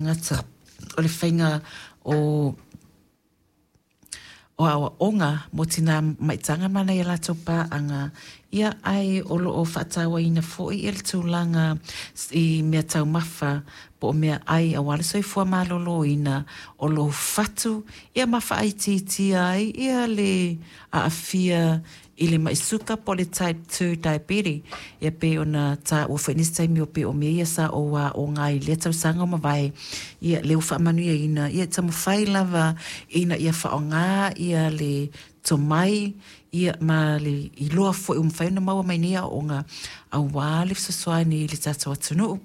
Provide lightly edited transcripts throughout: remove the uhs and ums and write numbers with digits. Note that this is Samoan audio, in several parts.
Gata o le faiga o aoaoga mo tinā maitaga ma nai a latou paaga, ia ae o lo o faatauaina foi le tulaga i mea taumafa po o mea ai aua le soifua maloloina o lou fatu, ia ma faaitiitia ai ia le aafia i le mai suka po o le type 2 diabetes. Ia pei ona taua foi nisi taimi o pei o mea ia sa ou aoga ai i lea tausaga ua mavae, ia lea ua faamanuiaina, ia taumafai lava ina ia faaaoga ia le tomai ia ma le iloa foi ua mafai ona maua mai nei aoaoga aua le fesoasoani i le tatou atunuu.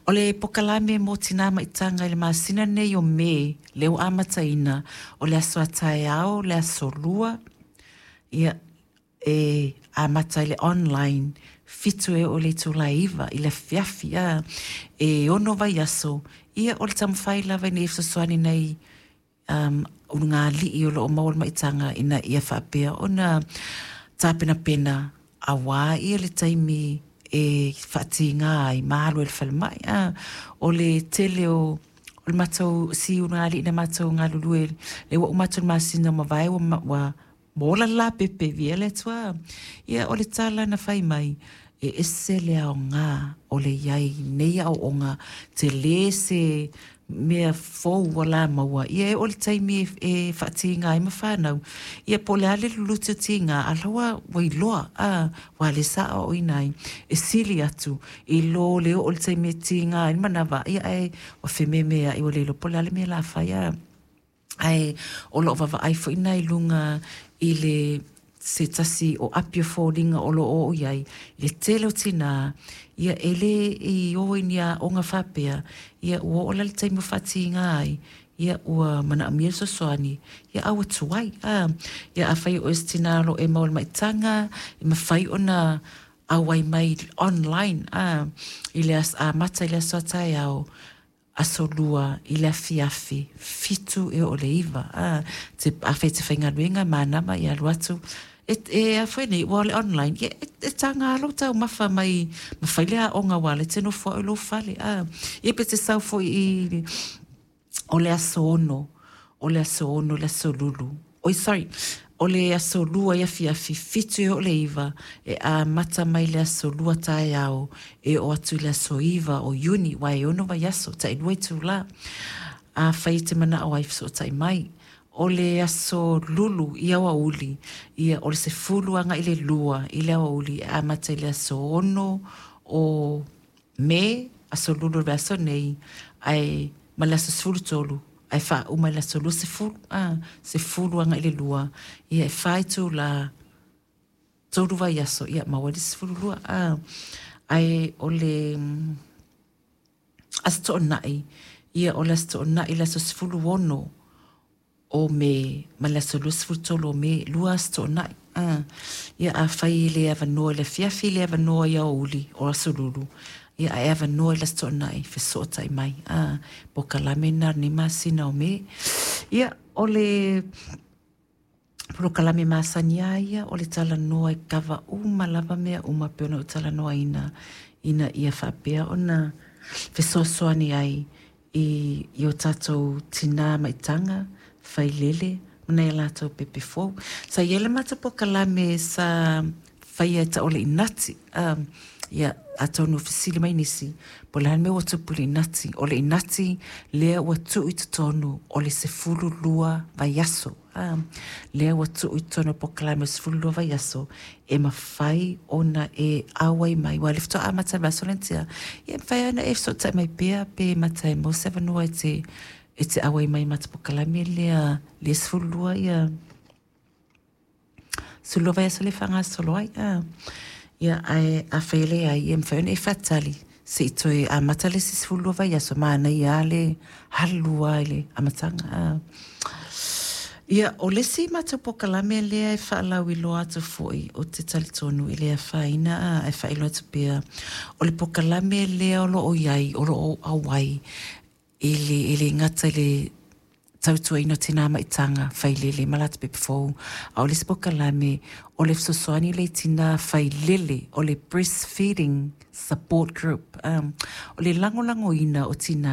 O le pokalame mo Tina Maitaga i le masina lenei o Me, lea ua amataina, o le aso a taeao, le aso Lua, ia, e amata i le online, 7 e oo i le itula e 9 i le afiafi, a, e 6 vaiaso, ia o le taumafai lava ina ia fesoasoani nai ulugalii o lo o maua le maitaga ina ia faapea ona tapenapena aua ia le taimi e faatiga ai ma alu ai i le falemai. A, o le tele o le matou si ulugalii na matou galulue lea ua uma atu le masina ua mavae ua ola le lapepe, viia le Atua. Ia o le tala na fai mai, e ese le aoga o le i ai i nei aoaoga, tele se mea fou ua la maua, ia e oo i le taimi e faatiga ai ma fanau, ia po o le a le luluti o tiga, a o la ua iloa, a, aua o lea sa aoaoina ai, e sili atu i lo le oo i le taimi e tiga ai le manava, ia ae ua fememeai ua le iloa po o le a le mea o le a fai, a. Ae o lo o vaavaai foi lena i luga i le se tasi o api o foliga o lo o oo i ai le tele o tinā, ia e le i o i ni aoga faapea, ia ua oo la i le taimi ua faatiga ai, ia ua manaomia le fesoasoani, ia a ua tuai. A, ia afai o oe o se tinā o lo o e maua i le maitaga, e mafai ona auai mai online, a, i le amata i le aso a taeao, aso Lua i le afiafi, 7 e oo i le 9. A, afai e te faigaluega, manava ia alu atu. E a foi nei, ua o le online, ia e taga lava lou taumafa mai ma fai le aoga aua o lea e te nofo lava oe i lou fale. A, ia pe te sau foi i o le aso 6, o le aso 6 le aso Lulu. Oi sorry, o le aso Lua i afiafi, 7 e oo i le 9, e amata mai le aso Lua taeao e oo atu i le aso 9 o Iuni, aua e 6 vaiaso, tailua itula. Afai e te manao ai, fesootai mai. O le aso Lulu i aoauli, ia o le 10 agai i le 2 i le aoauli e amata i le aso 6 o Me, aso Lulu o le vaiaso nei, ae ma le aso 13, ae faauma i le aso 20, a, 10 agai i le 2, ia e 4 itula, 3 vaiaso, ia maua ai le 12, a. Ae o le Aso Toonai, ia o le Aso Toonai le aso 16 o Me ma le aso 23 o Me, 2 Aso Toonai. A, ia afai e le avanoa i le afiafi, le avanoa i aoauli o Aso Lulu, ia ae avanoa i le Aso Toonai, fesootai mai. A, polokalame lena o lenei masina o Me. Ia, o le polokalame masani lava ia o le talanoa e kava uma lava mea uma pei ona ou talanoaina ina ia faapea ona fesoasoani ai i o tatou tinā maitaga, failele ma nai a latou pepe fou. Sa i ai le matou polokalame sa faia e tau o le inati. Ia, atonu o fesili mai nisi, po o le a le mea ua tupu i le inati. O le inati lea ua tuu i totonu o le 12 vaiaso. Lea ua tuu i totonu o le polokalame o le 12 vaiaso e mafai ona e auai mai. Aua o lea faatoa amata i le vaiaso lea na tea, ia e mafai lava ona e fesootai mai pea pe mata e maua se avanoa e te auai mai i le matou polokalame lea, le 12 ia 12 vaiaso lea e faagasolo ai. A, ia, ae afai e leai, ia e mafai ona e faatali se i toe amata le isi 12 vaiaso, manaia lava le alu lava i le amataga. A. Ia, o le isi matou polokalame lea e faalauiloa atu foi, ou te talitonu e le afaina, ae faailoa atu pea, o le polokalame lea o lo o i ai, o lo o auai i le, e le gata i le tautuaina o tina maitaga failele ma latou pepe fou, a o le isi polokalame o le fesoasoani lea i tina failele, o le breastfeeding support group. O le lagolagoina o tina